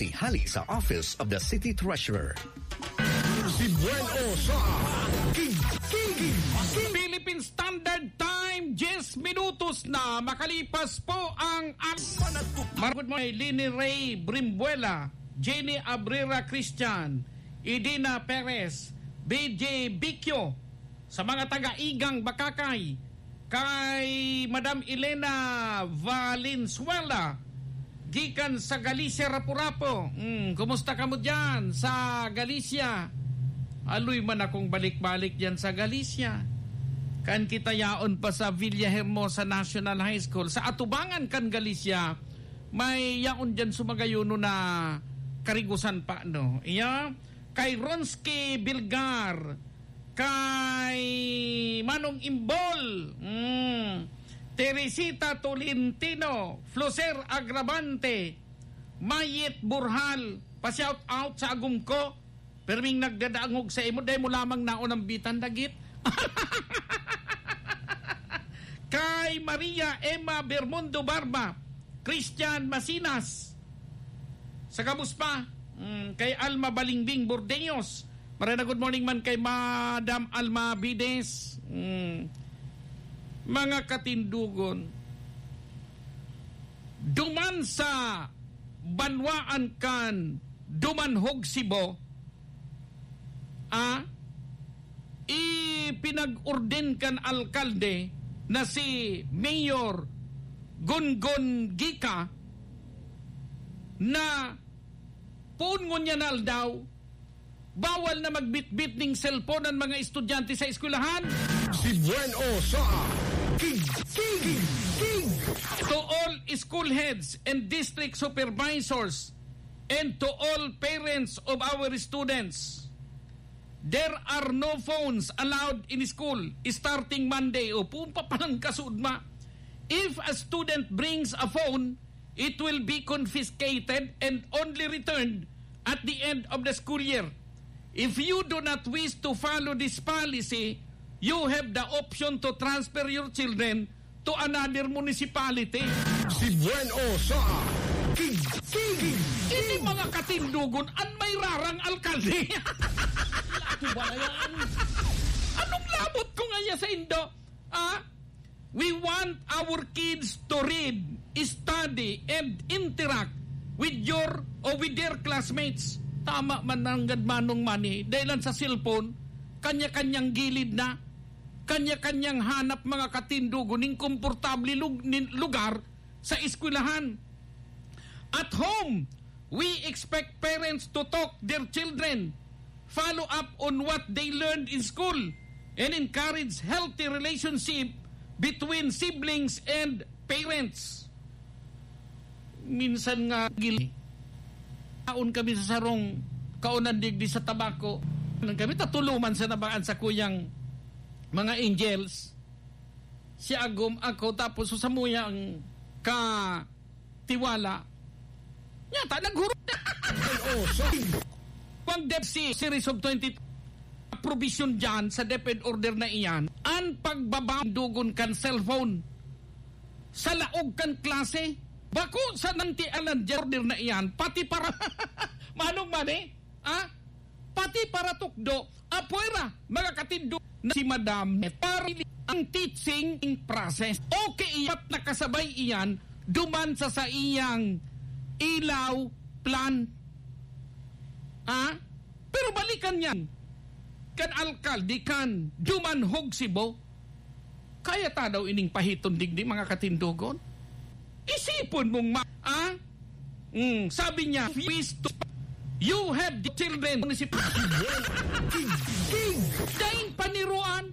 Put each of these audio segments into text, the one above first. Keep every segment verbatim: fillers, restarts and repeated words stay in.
Hali sa Office of the City Treasurer. Si Buen O sa King, King, King. Philippine Standard Time, diyes minutos na makalipas po ang, ang Mar-, good morning, Lini Ray Brimbuela, Jenny Abrera Christian, Idina Perez, B J Bicchio, sa mga taga-Igang, Bakakay, kay Madam Elena Valenzuela, gikan sa Galicia, Rapu-Rapu. Hmm, kumusta kamo diyan sa Galicia? Aloy man akong balik-balik diyan sa Galicia. Kan kita yaon pa sa Villahermosa National High School, sa atubangan kan Galicia, may yaon diyan sumagayuno na karigusan pa, no? Iya, kay Ronsky Bilgar, kay Manong Imbol, mm, Teresita Tolentino, Floser Agravante, Mayet Burhal, pa-shout out sa agom ko, perming nagdadangog sa imo, dai mo lamang naunambitan dagit. Kay Maria Emma Bermundo Barba, Christian Masinas, sa gabos pa, mm, kay Alma Balingbing Bordeños. Maray na good morning man kay Madam Alma Bides. Mm. Mga katindogon, duman sa banwaan kan Dumanhog, Cebu, ah, ipinag-orden kan alkalde na si Mayor Gongon Gica na poon ngunyan na aldaw, bawal na magbitbit ning cellphone ang mga estudyante sa eskwelahan. Si Buen O sa King, King, King. To all school heads and district supervisors and to all parents of our students, there are no phones allowed in school starting Monday. O, pumpa palang kasudma. If a student brings a phone, it will be confiscated and only returned at the end of the school year. If you do not wish to follow this policy, you have the option to transfer your children to another municipality. Si Buen O sa King, King, King. Ini mga katindogon, an may rarang alkalde. Lato ba na yan? Anong labot ko ngaya sa indo? Ah? We want our kids to read, study, and interact with your or with their classmates. Tama man nanggad manong mani, dahil lang sa cellphone, kanya-kanyang gilid na, kanya-kanyang hanap mga katindogon ning komportable lug-, nin-, lugar sa eskwelahan. At home, we expect parents to talk their children, follow up on what they learned in school, and encourage healthy relationship between siblings and parents. Minsan nga, gil-, kaon kami sa sarong kaonan digdi sa tabako. Nang kami, tatuloman sa nabaan sa kuyang mga angels. Si Agom, ako, tapos sa samuyang ka tiwala. Nyata, naghurot. Oh, sorry. Pang DepEd series of twenty provision dyan sa DepEd order na iyan, an pagbaba dugon kan cellphone sa laog kan klase. Bako sa nanti anan dyan order na iyan, pati para manong mani, ah? Pati para tukdo, apwera, mga katindo, na si Madam Net. Para ang teaching process. Okay, iya't nakasabay iyan duman sa saiyang ilaw plan. Ah? Pero balikan niyan, kan alkalde kan Dumanhog, Cebu. Kaya ta daw ining pahiton digdi, mga katindogon? Isipon mong ma-, ah? Mm, sabi niya, "If you wish to, you have the children." King, king. Daing paniruan,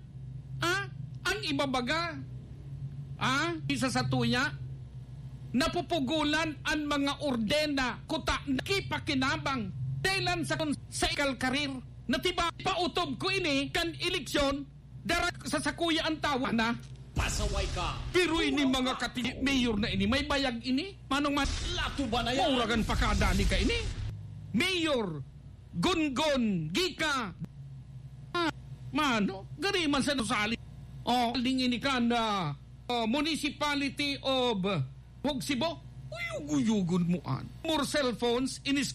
ah? Ang ibabaga, ah? Isa sa tuya, napupugulan an mga ordena, kuta, nakipakinabang, dahilan sa, sa ikal karir. Natiba, pautob ko ini kan eleksyon, dara sa sakuya an tawa na. Pasaway ka. Pero ini mga kati-, mayor na ini, may bayag ini. Manong man, Lato ba na yan? Mauragan pa kada ni ka ini. Mayor, Gungon, Gika. Ah, mano, gari man sa Nusali. Oh, ding ini ka na, oh, Municipality of Hogsibo. Uyug-uyugon mo an. More cell phones in